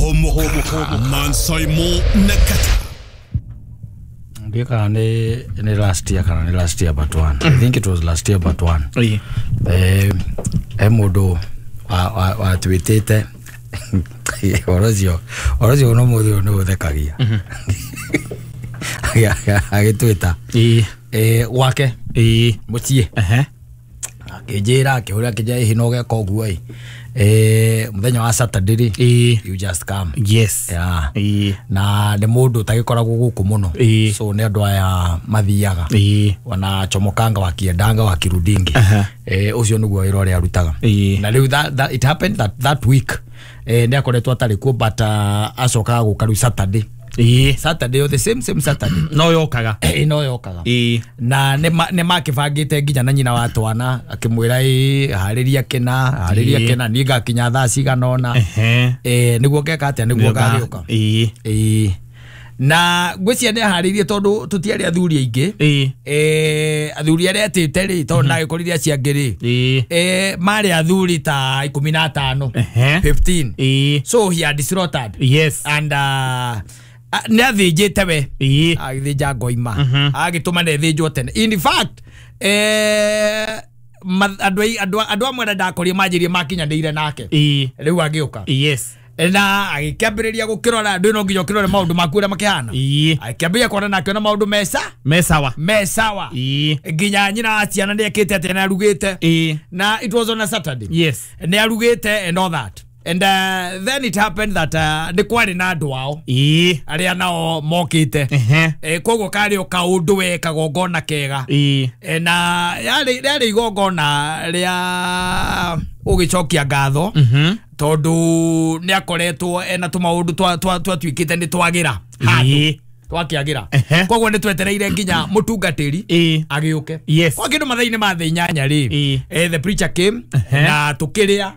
Homoka Mansaimo Nakata. Ndika ni last year kana ni last year but one. I think it was last year but one. Mundu wa twitite orozio no muthu ni uthekagia. Agitwita. Gwake. Mucii. Akijira akiuria akija ihi no geka uguo i. Muthenya wa Saturday ri you just come. Yes. Yeah. Na ni mundu utagikoragwo guku muno. So ni andu aya mathiaga. Wana chomokanga wakiendanga wakirudingi. Ucio niguo wira uria arutaga. Na riu that it happened that week. Ni akoretwo atari kuo but acokaga guka riu Saturday. Saturday the same Saturday. No yokaga. No yokaga. Na ne makibangite nginya na nyina wa twana akimwira hariria kina ni ngakinya thaa cigana ona. Niguo ngeka atia niguo ngagĩũka. Na ngwĩciria nĩ aharĩirie tondũ tũtiarĩ athuri aingĩ. Athuri arĩa etĩte rĩ tondũ ndagĩkorire acio angĩ rĩ marĩ athuri ta 15 15. So he had slaughtered. Yes. And nĩ athĩnjĩte we agĩthĩnja ngoima agĩtũma na ĩthĩnjwo tene. In fact andũ amwe arĩa ndakorire manjĩrie makinyanĩire nake rĩu agĩũka. Yes. Na agĩkĩambĩrĩria gũkĩrora ndũ no nginya ũkĩrore maũndũ maku ũrĩa makĩhana. Agĩkĩambĩrĩria kuona na akĩona maũndũ mesawa. Nginya nyina wa ciana nĩ ekĩte atĩ nĩ arugĩte. Na it was on a Saturday. Yes. Nĩ arugĩte and all that. And then it happened that nĩ kwarĩ na andũ ao arĩa nao mokĩte. Koguo karĩ o kaũndũ we kagongona kega. Na yarĩ igongona rĩa ũgĩcokia ngatho tondũ nĩ akoretwo ena tũmaũndũ twatuĩkĩte nĩ twagĩra handũ twakĩagĩra. Koguo nĩ twetereire nginya mũtungatĩri agĩũke. Yes. Kwa kĩndũ mathaa-inĩ ma thaa inyanya rĩ the preacher came na tũkĩrĩa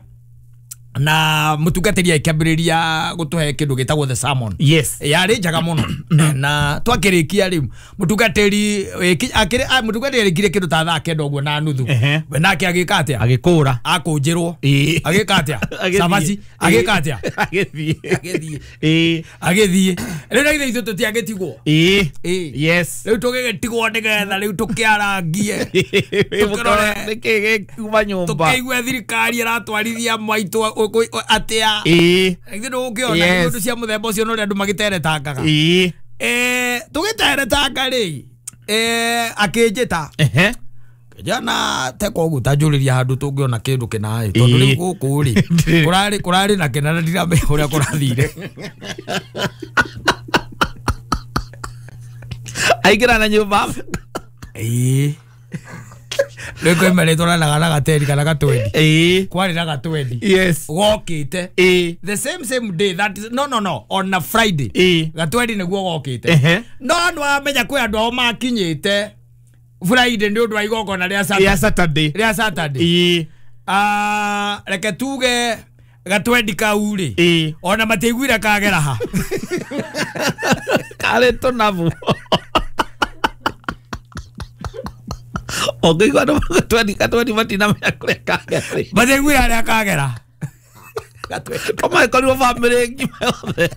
na mutungatĩri akĩambĩrĩria gũtũhe kĩndũ gĩtagwo the sermon. Yes. Yarĩ njega mũno. Na twakĩrĩkia rĩu mũtungatĩri mũtungatĩri arĩkirie kĩndũ ta thaa kenda ũguo na nuthu. We nake agĩka atĩa? Agĩkũra. Akũnjĩrwo. Agĩka atĩa? Cabaci. Agĩka atĩa? Agĩthiĩ. Agĩthiĩ. Rĩu na ithuĩ tũtiagĩtigwo. Yes. Rĩu tũgĩgĩtigwo nĩgetha rĩu tũkĩarangie. Tũkĩrore nĩkĩ gĩkiuma nyũmba. Tũkĩigue thirikari ĩratwarithia maitũ atia. Ithuĩ ndũgũkĩona indo cia mũthemba ũcio no ũrĩa andũ magĩteretangaga. Tũgĩteretanga rĩ akĩnjĩta kijana teka ũguo tanjũrĩria handũ tũngĩona kĩndũ kĩna ĩ tondũ rĩu gũkũ rĩ kũrarĩ na kĩna na ndiramenya ũrĩa kũrathire. Aingĩra na nyũmba. Rĩu kwĩ marĩtwaranaga na gateri kana gatwendi. Kwarĩ na gatwendi. Yes. Gokĩte. The same day that is, no on a Friday. Gatwendi nĩguo gokĩte. No nĩwamenya kwĩ andũ ao makinyĩte Friday nĩ ũndũ wa igongona rĩa Saturday. Rĩa Saturday. Reke tuge gatwendi kau rĩ ona matiaiguire kagera ha. Karĩ tũnabu. Ũngĩigua andũ gatwendi matinamenya kũrĩa kagera. Matiaiguire harĩa kagera. Kamagĩkorirwo bamĩrĩ ng'ima yothe.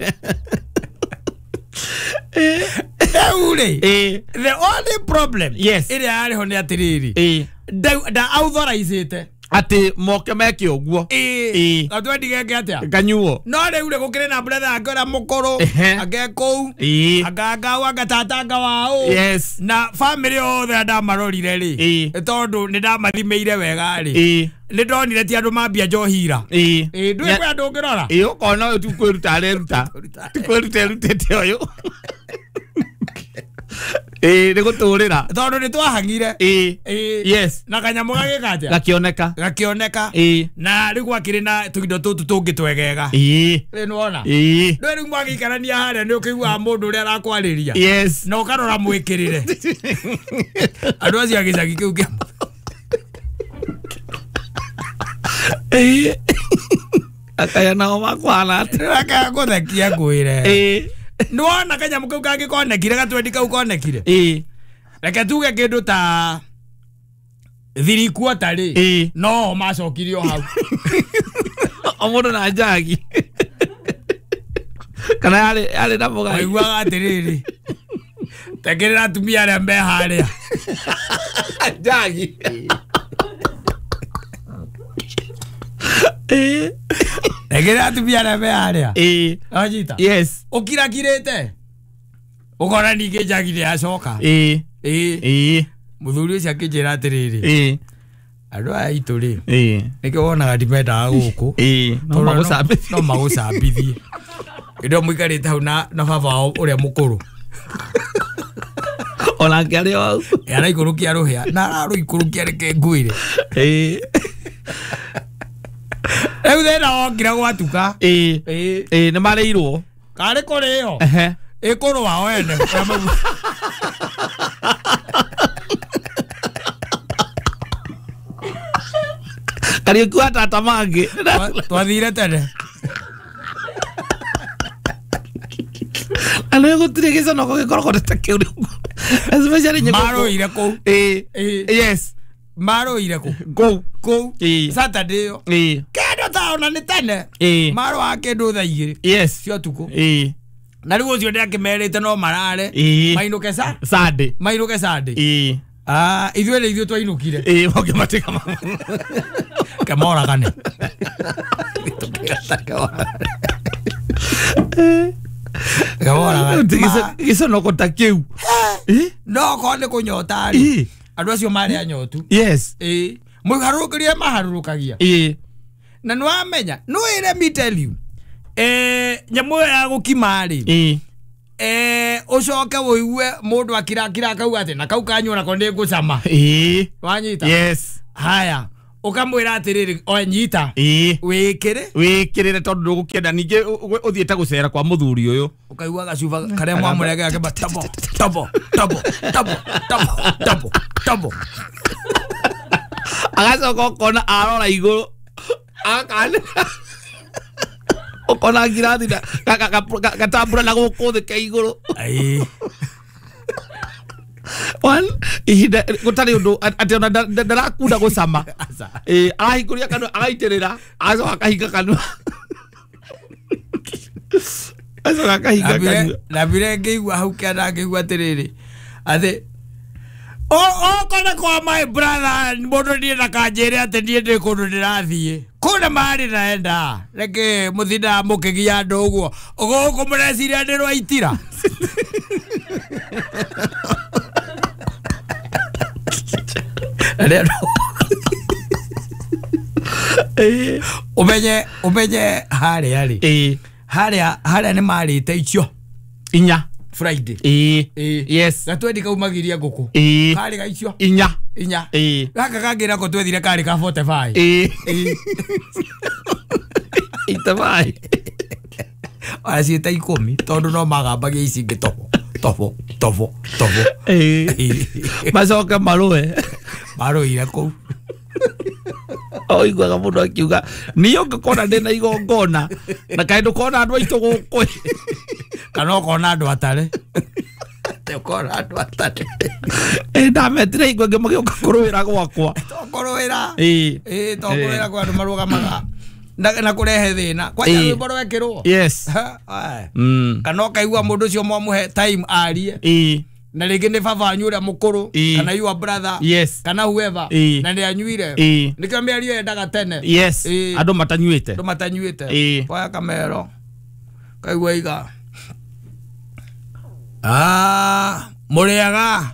Rĩu rĩ the only problem ĩrĩa yarĩ ho nĩ atĩrĩrĩ nda authorizĩte atĩ moke meke ũguo. Gatwendi geke atĩa? Kanyuo. No rĩu rĩ gũkĩrĩ na brother ake ũrĩa mũkũrũ ake kũu angangau angatatanga wao. Yes. Na family yothe ndamarorire rĩ tondũ nĩ ndamathimĩire wega rĩ nĩ ndonire ti andũ mambia njohira. Ndũĩ kwĩ andũ ũngĩrora? Ũkona ũyũ ti kwĩruta areruta. Ti kwĩruta erutĩte ũyũ. Nĩ gũtũrĩra. Tondũ nĩ twahang'ire. Yes. Na kanyamũ gagĩka atĩa? Gakĩoneka. Gakĩoneka. Na rĩu gwakĩrĩ na tũindo tũtũ tũngĩ twegega. Rĩu nĩwona? Ndũĩ rĩu mwagĩikarania harĩa nĩ ũkĩiguaga mũndũ ũrĩa arakwarĩria. Yes. Na ũkarora mwĩkĩrĩre. Andũ acio a gĩcagi kĩu kĩa Akaya nao makwana atĩa? Akaya gũthekia ngwĩre. Nĩwona kanyamũ kau kangĩkonekire gatwendi kau konekire. Reke tuge kĩndũ ta 3/4 rĩ no macokirio hau. O mũndũ na njagi. Kana yarĩ na mũgai. Waiguaga atĩrĩrĩ tekĩrĩra atumia arĩa me harĩa njagi. Tekĩrĩra atumia arĩa me harĩa. Wanyita? Yes. Ũkirakirĩte ũkona ningĩ njagi nĩ yacoka. Mũthuri ũcio akĩnjĩra atĩrĩrĩ andũ aya aitũ rĩ nĩkĩo wonaga ndimendaga gũkũ no magũcambithie. Hĩndĩ ĩyo mũikarĩte hau na baba wao ũrĩa mũkũrũ onake arĩ o hau araikũrũkia rũhĩa na ararũikũrũkia reke ngwĩre. Rĩu thĩna wokire gwatuka. Nĩ marĩirwo karĩ kũrĩo ĩkũrũ wao ene. Kariũki wa tata mangĩ twathire tene. Andu gũtirĩ gĩconoko gĩkoragwo ta kĩu rĩu. Especially nyĩmbo. Marũire kũu. Yes. Marũire kũu. Kũu. Kũu. Saturday ĩyo. Kĩndũ ta ona nĩ tene. Marũaga kĩndũ thaa igĩrĩ. Yes. Cia ũtukũ. Na rĩu ũcio nĩakĩmerĩte no marare. Mainũke sa? Sunday. Mainũke Sunday. Ithuĩ nĩ ithuĩ twainũkire. Mũngĩmatiga Kemoragane. Gĩconoko ta kĩu. No korwo nĩ kũnyota rĩ andũ acio marĩ anyotu. Yes. Mũharũrũkĩrie maharũrũkagia. Na nĩwamenya no let me tell you nyamũ ĩyo ya gũkima rĩ ũcoke ũigue mũndũ akirakira akauga atĩ na kau kanyua nako nĩ ngũcama. Wanyita? Yes. Haya ũkamwĩra atĩrĩrĩ oe nyita wĩkĩre wĩkĩrĩre tondũ ndũgũkĩenda ningĩ ũthiĩte gũcera kwa mũthuri ũyũ ũkaigua gacuba karĩa mwamũrege gakĩmba tobo tobo tobo tobo tobo tobo tobo agacoka ũkona arora igũrũ akanĩra ũkona ngirathi gatambura na gũkũ thĩ ke igũrũ. One ihinda gũtarĩ ũndũ atĩ ona ndarakunda gũcama. Arahingũria kanua agaitĩrĩra agacoka akahinga kanua agacoka akahinga kanua. Ndambire ngĩigua hau kĩanda ngĩigua atĩrĩrĩ atĩ okorwo kwa my brother mũndũ niĩ ndakanjĩre atĩ niĩ ndĩ kũndũ ndĩrathiĩ kũna marĩ naenda reke mũthindaga mũkĩgia andũ ũguo gũkũ mũreciria nĩ rwaitira. Umenye harĩa rĩ harĩa nĩ marĩte icio inya Friday. Yes. Gatwendi kaumagiria ngũkũ karĩ ga icio inya inya. Gaka kangĩ nako twethire karĩ ka 45. 85 ona ciĩta ikũmi tondũ no magambagia ici ingĩ tobo tobo tobo tobo. Macoke marũe marũire kũu. Oiguaga mũndũ akiuga niĩ ũngĩkona ndĩna igongona na kaĩ ndũkona andũ aitũ gũkũ kana ũkona andũ atare ũkona andũ atare. Ndametire igwe ngĩmagĩũka kũrũĩra gwakwa tokũrũĩra tokũrũĩra kwa andũ marũgamaga na kũrehe thĩna kwanja rwĩmbo rwekĩrwo. Yes. Kana ũkaigua mũndũ ũcio mwamũhe time arie na rĩngĩ nĩ baba wanyu ũrĩa mũkũrũ kana your brother. Yes. Kana whoever na nĩ anyuire nĩkĩo mĩario yendaga tene. Yes. Andũ matanyuĩte andũ matanyuĩte oya kamero kaigua iga mũrĩaga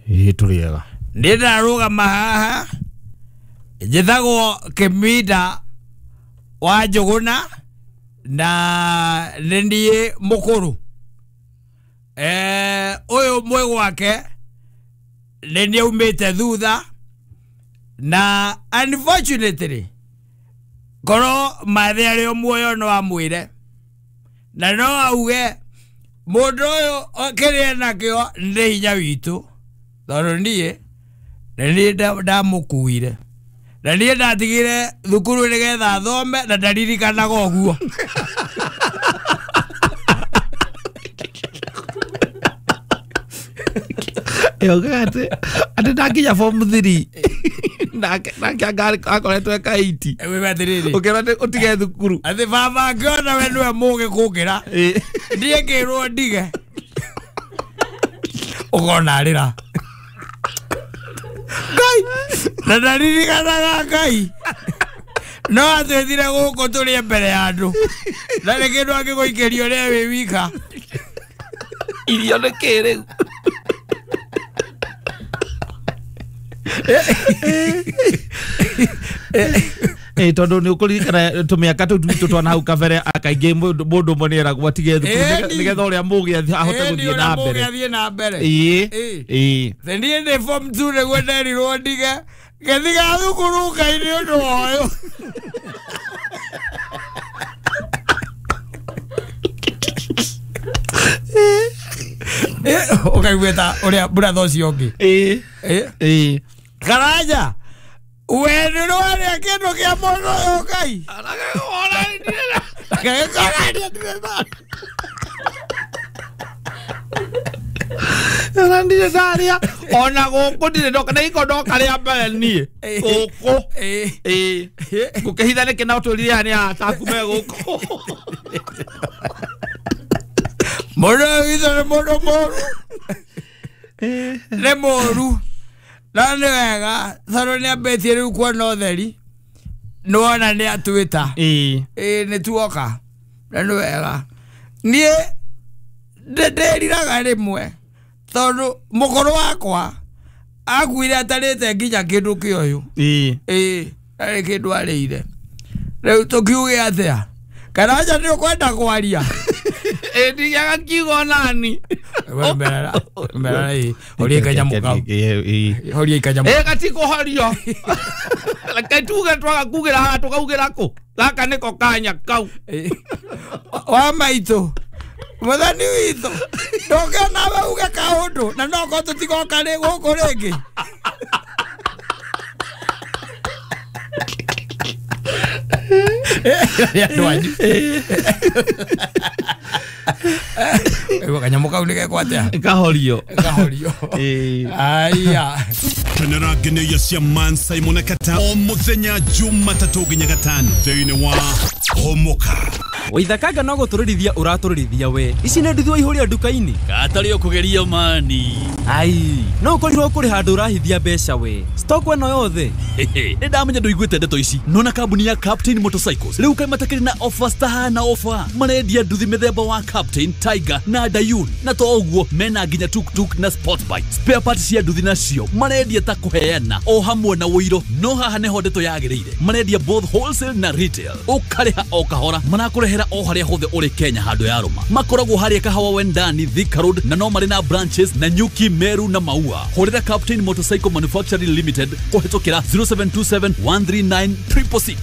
tũrĩega nĩ ndarũgama haha njĩtagwo Kĩminda wa Njũgũna na nĩ niĩ mũkũrũ. Ũyũ mwĩ gwake nĩ niĩ aumĩte thutha na unfortunately korwo mathe arĩ o muoyo no amwĩre na no auge mũndũ ũyũ kĩrĩa enakĩo nĩ hinya witũ tondũ niĩ nĩ niĩ ndamũkuire na niĩ ndatigire thukuru nĩgetha athome na ndaririkanaga ũguo. Atĩ ndakinya form 3 Nake nake akoretwo eka 80. Wewe atiriri. Ukirwo utige thukuru. Athi baba ngiona we niwe mugi kukira. Ndiĩ ngĩrwo ndige. Ukona arĩra. Ngai. Na ndaririkanaga Ngai. No atwĩthire gũkũ tũrĩe mbere ya andũ. Na nĩ kĩndũ angĩgũikĩria ũrĩa wĩ wika. Irio nĩ kĩ rĩu? Tondu ni ukuririkana tumiaka tu twitu twana hau kabere akaingĩ mũndũ ũmwe nĩeragwo atige thukuru nĩgetha ũrĩa mũgĩ ahote gũthiĩ na mbere. Athiĩ na mbere. Ĩĩ. Niĩ ndĩ form 2 nĩguo nderirwo ndige ngĩtiga thukuru Ngai nĩ ũndũ wa ũyũ. Ũkaigua ta ũrĩa brother ũcio ũngĩ. Ĩĩ. Karanja we nĩ ũrarĩa kĩndũ kĩa mũndũ ũyũ Ngai. Ona ndirĩ ndarĩa ona gũkũ ndirĩ ndoka na iko ndoka rĩa mbere niĩ gũkũ. Ĩĩ. Ngũkĩhitha nĩkĩ na ũtũrire haha nĩ ataku me gũkũ. Mũndũ witũ nĩ mũndũ mũru. Nĩ mũru. Na nĩ wega tondũ nĩ ambĩtie rĩu kuona ũtheri. Nĩwona nĩ atwĩta. Ĩĩ. Ĩĩ nĩ tuoka. Na nĩ wega. Niĩ ndĩriraga rĩmwe tondũ mũkũrũ wakwa akuire atarĩte nginya kĩndũ kĩa ũyũ. Ĩĩ. Ĩĩ arĩ kĩndũ arĩire. Rĩu tũkiuge atĩa? Karanja nĩ ũkwenda kwaria? Ĩĩ ndiaga kiugo nani. Merara ĩĩ. Horia kanyamũ kau. Horia kanyamũ. Ĩĩ gatikũhorio. Reke tuge twaga kugĩra haha tũkaugĩra kũ? Gaka nĩko kanya kau. Wa maitũ. Mũthoni witũ. Ndoke nawe uge kaũndũ na no korwo tũtigoka gũkũ rĩngĩ. Andũ anyu. Kanyamũ kau nĩ gekwo atĩa? Kahorio. Kahorio. Aya. Kenera ngeneia cia Man Simon Kata o muthenya Jumatatũ nginya gatano thĩinĩ wa Homoka. Waithakanga no gũtũrĩrithia ũratũrĩrithia we. Ici nĩ nduthi waihũria nduka-inĩ. Gatarĩ ũkũgeria mani. Ai, no ũkorirwo kũrĩ handũ ũrahithia mbeca we. Stock ĩno yothe. Nĩ ndamenya ndũiguĩte ndeto ici. Nona kambuni ya Captain Motorcycles rĩu kaĩ matakĩrĩ na offers tahana offer. Marendia nduthi mĩthemba wa Captain, Tiger na Dayun. Na to ũguo mena nginya tuk-tuk na sport bike. Spare parts cia nduthi nacio marendia ta kũheana o hamwe na ũiro. No haha nĩho ndeto yagĩrĩire. Marendia both wholesale na retail. Ũkarĩha o kahora. Marakũrehera o harĩa hothe ũrĩ Kenya handũ ya rũma. Makoragwo harĩa Kahawa Wendani, Thika Road na no marĩ na branches na Nyuki, Meru na Maua. Hũrĩra Captain Motorcycle Manufacturing Limited kũhĩtũkĩra 0727 139 666.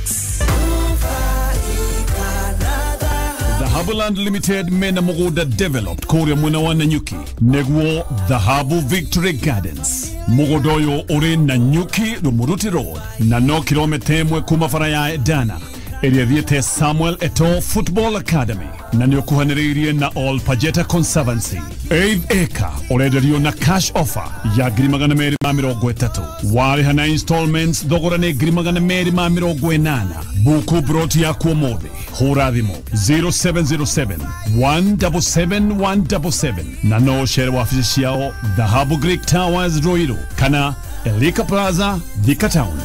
Dhahabuland Limited mena mũgũnda developed kũrĩa mwena wa Nanyuki nĩguo Dhahabu Victory Gardens. Mũgũnda ũyũ ũrĩ Nanyuki Rumuruti Road na no kilomita 1 kuma bara ya Edana ĩrĩa thiĩte Samuel Eto'o Football Academy na nĩ ũkuhanĩrĩirie na All Pajeta Conservancy. 8 acre ũrenderio na cash offer ya 230,000. Warĩha na installments thogora nĩ 280,000. Buku broti yaku ũmũthĩ. Hũra thimũ 0707 177 177 na no ũcere wabici ciao Dhahabu Greek Towers Ruiru kana Elika Plaza Thika Town.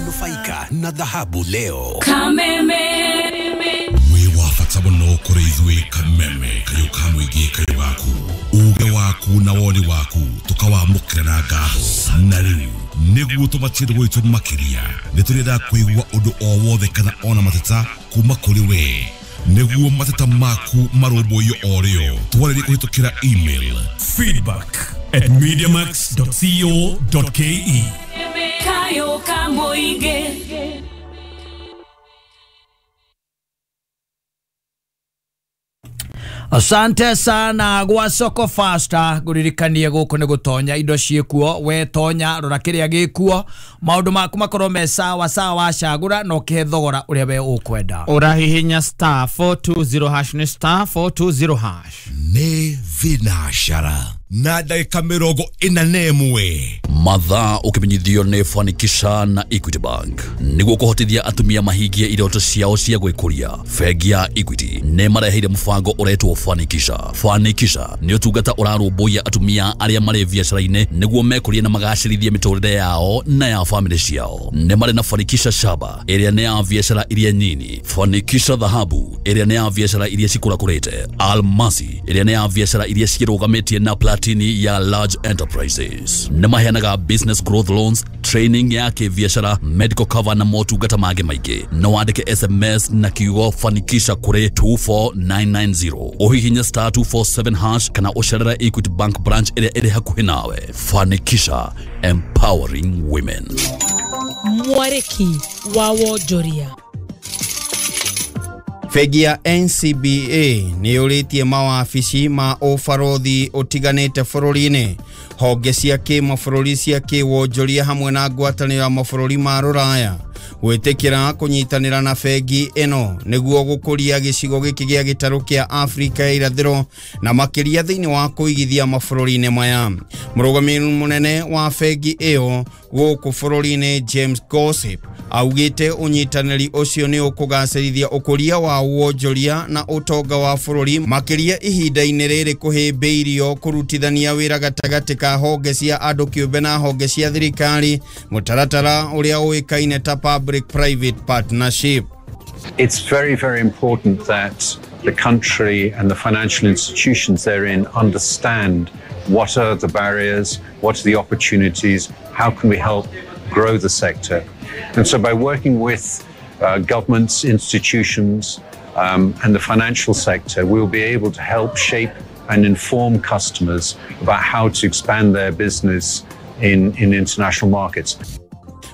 Nufaika na dhahabu leo. Kameme. Wĩ wa bata mũno kũrĩ ithuĩ Kameme kayũ ka mũingĩ kayũ gaku. Uge waku na woni waku tũkawamũkĩra na ngatho. Na rĩu nĩguo tũmatie gwitũ makĩria nĩ tũrenda kũigua ũndũ o wothe kana ona mateta kuma kũrĩ we. Nĩguo mateta maku marũmbũiyo o rĩo twarĩrie kũhĩtũkĩra email feedback@mediamax.co.ke. Kayo ka mũingĩ. Asante sana gwa Soko Faster nguririkanie guku ni gutonya indo ciikuo we tonya rora kiria gikuo maundu maku makorwo me sawa sawa cagura no kihe thogora uria we ukwenda urahihinya star 420 hash ni star 420 hash ni vinashara. na ndagĩka 41. Mathaa ũkĩmenyithio nĩ Fanikisha na Equity Bank nĩguo kũhotithia atumia mahingie iroto ciao cia gwĩkũria. Bengi ya Equity nĩ mareheire mũbango ũretwo Fanikisha. Fanikisha nĩ ũtungata ũrarũmbũiya atumia arĩa marĩ biacara-inĩ nĩguo mekũrie na magacĩrithie mĩtũrĩre yao na ya famĩlĩ ciao. Nĩ marĩ na Fanikisha Shaba ĩrĩa nĩ ya biacara iria nyini, Fanikisha Dhahabu ĩrĩa nĩ ya biacara iria cikũrakũrĩte, Almasi ĩrĩa nĩ ya biacara iria cirũgamĩtie na Platini ya large enterprises. Nĩ maheanaga business growth loans, training ya kĩbiacara, medical cover na motungata mangĩ maingĩ. No wandĩke SMS na kiugo Fanikisha kũrĩ 24990, ũhihinye star 247 hash kana ũcerere Equity Bank branch ĩrĩa ĩrĩ hakuhĩ nawe. Fanikisha, empowering women. Mwarĩki wa wonjoria. Bengi ya NCBA nĩ yũrĩtie mawabici ma ũbarothi ũtiganĩte bũrũri-inĩ, honge cia kĩmabũrũri cia kĩwonjoria hamwe na ngwatanĩro ya mabũrũri ma rũraya gwĩtĩkĩra kũnyitanĩra na bengi ĩno nĩguo gũkũria gĩcigo gĩkĩ gĩa gĩtarũ kĩa Afrika ya irathĩro na makĩria thĩinĩ wa kũigithia mabũrũri-inĩ maya. Mũrũgamĩrĩri mũnene wa bengi ĩyo gũkũ bũrũri-inĩ James Gossip augĩte ũnyitanĩri ũcio nĩ ũkũgacĩrithia ũkũria wa wonjoria na ũtonga wa bũrũri makĩria ihinda-inĩ rĩrĩ kũhĩmbĩirio kũrutithania wĩra gatagatĩ ka honge cia andũ kĩũmbe na honge cia thirikari, mũtaratara ũrĩa ũĩkaine ta public private partnership. It's very, very important that the country and the financial institutions therein understand what are the barriers, what are the opportunities, how can we help grow the sector. And so by working with governments, institutions, and the financial sector, we'll be able to help shape and inform customers about how to expand their business in international markets.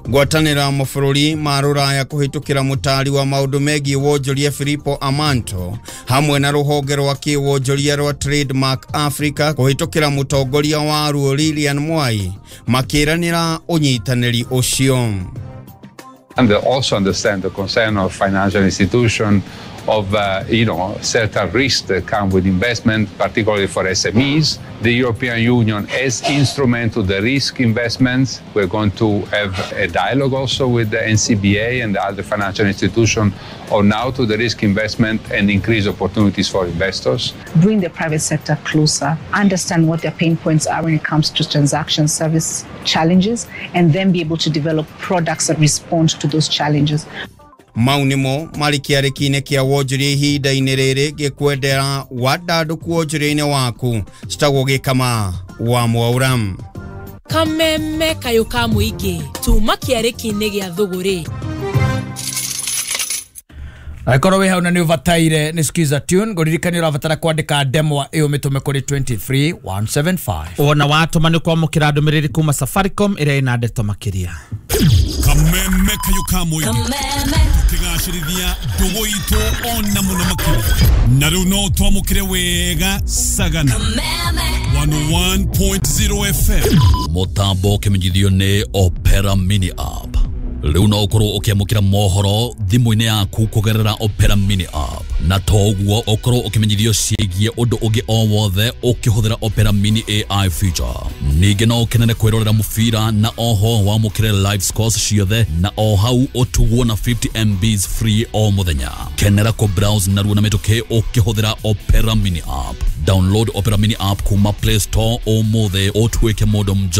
Ngwatanĩro ya mabũrũri ma rũraya kũhĩtũkĩra mũtaari wa maũndũ megiĩ wonjoria Filippo Amanto hamwe na rũhonge rwa kĩwonjoria rwa Trademark Africa kũhĩtũkĩra mũtongoria waruo Lilian Mwai makĩranĩra ũnyitanĩri ũcio. And they also understand the concern of financial institutions of certain risks that come with investment, particularly for SMEs. The European Union as instrument to the risk investments. We're going to have a dialogue also with the NCBA and the other financial institutions on how to the risk investment and increase opportunities for investors. Bring the private sector closer, understand what their pain points are when it comes to transaction service challenges, and then be able to develop products that respond to those challenges. Mau nĩmo marĩ kĩarĩki-inĩ kĩa wonjoria ihinda-inĩ rĩrĩ gĩkwendera wandandũku wonjoria-inĩ waku citagwo Gĩkama wa Mwaura. Kameme kayũ ka mũingĩ tuma kĩarĩki-inĩ gĩa thũgũrĩ. Akorwo wĩ hau na nĩ ũbataire nĩ skiza tune ngũririkania ũrabatara kwandĩka ndemwa ĩyo mĩtũme kũrĩ 23175. Ona watũma nĩ kwamũkĩra ndũmĩrĩri kuma Safaricom ĩrĩa ĩna ndeto makĩria. Kameme kayũ ka mũingĩ tũkĩgacĩrithia ndũgũ itũ ona mũno makĩria na rĩu no twamũkĩre wega Sagana 101.0 FM. Mũtambo ũkĩmenyithio nĩ Opera Mini App. Rĩu no ũkorwo ũkĩamũkĩra mohoro thimũ-inĩ yaku kũgerera Opera Mini App na toguo ũkorwo ũkĩmenyithio ciĩgiĩ ũndũ ũngĩ o wothe ũkĩhũthĩra Opera Mini AI feature. Ningĩ no ũkenere kwĩrorera mũbira na oho wamũkĩre live scores ciothe na o hau ũtugwo na 50 MBs free o mũthenya. Kenera kũ browse narua na mĩtũkĩ ũkĩhũthĩra Opera Mini App. Download Opera Mini App kuma Play Store ũmũthĩ ũtuĩke mũndũ mjanja.